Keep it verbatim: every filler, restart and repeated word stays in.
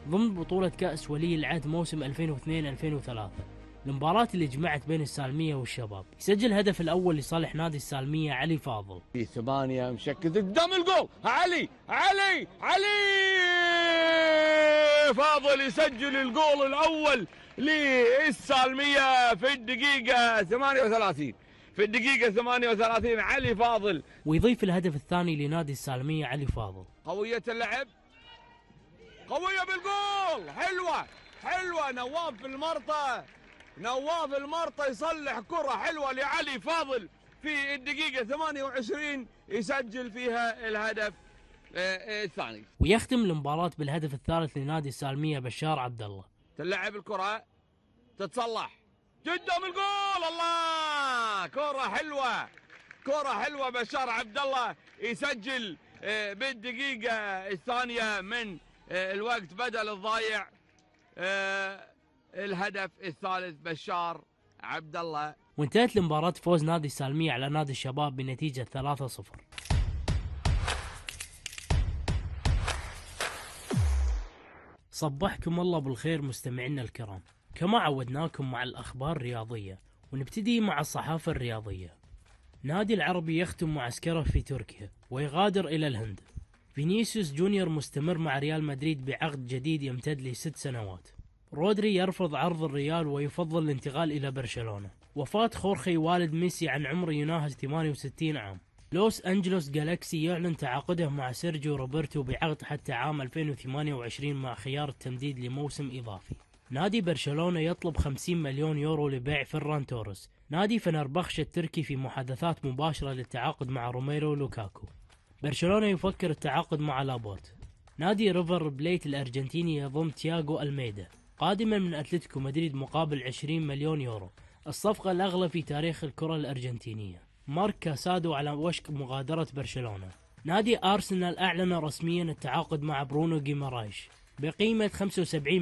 ضمن بطولة كأس ولي العهد موسم ألفين واثنين ألفين وثلاثة، المباراة اللي جمعت بين السالمية والشباب. يسجل الهدف الأول لصالح نادي السالمية علي فاضل. في ثمانية مشكل قدام الجول، علي علي علي فاضل يسجل الجول الأول للسالمية في الدقيقة ثمانية وثلاثين. في الدقيقة ثمانية وثلاثين علي فاضل. ويضيف الهدف الثاني لنادي السالمية علي فاضل. قوية اللعب، قوية بالجول، حلوة حلوة. نواف المرطة، نواف المرطة يصلح كرة حلوة لعلي فاضل في الدقيقة ثمانية وعشرين، يسجل فيها الهدف الثاني. ويختم المباراة بالهدف الثالث لنادي السالمية بشار عبد الله. تلعب الكرة، تتصلح قدام الجول، الله، كرة حلوة، كرة حلوة. بشار عبد الله يسجل بالدقيقة الثانية من الوقت بدل الضايع الهدف الثالث. بشار عبد الله. وانتهت المباراة فوز نادي السالمية على نادي الشباب بنتيجة ثلاثة صفر. صبحكم الله بالخير مستمعينا الكرام، كما عودناكم مع الأخبار الرياضية، ونبتدي مع الصحافة الرياضية. نادي العربي يختم معسكره في تركيا ويغادر إلى الهند. فينيسيوس جونيور مستمر مع ريال مدريد بعقد جديد يمتد لست سنوات. رودري يرفض عرض الريال ويفضل الانتقال إلى برشلونة. وفاة خورخي والد ميسي عن عمر يناهز ثمانية وستين عام. لوس أنجلوس جالاكسي يعلن تعاقده مع سيرجيو روبرتو بعقد حتى عام ألفين وثمانية وعشرين مع خيار التمديد لموسم إضافي. نادي برشلونة يطلب خمسين مليون يورو لبيع فيران توريس. نادي فنربخش التركي في محادثات مباشرة للتعاقد مع روميرو لوكاكو. برشلونة يفكر التعاقد مع لابورت. نادي ريفر بليت الأرجنتيني يضم تياغو ألميدا قادما من أتلتيكو مدريد مقابل عشرين مليون يورو، الصفقة الأغلى في تاريخ الكرة الأرجنتينية. مارك كاسادو على وشك مغادرة برشلونة. نادي أرسنال أعلن رسميا التعاقد مع برونو جيمارايش بقيمة خمسة وسبعين مليون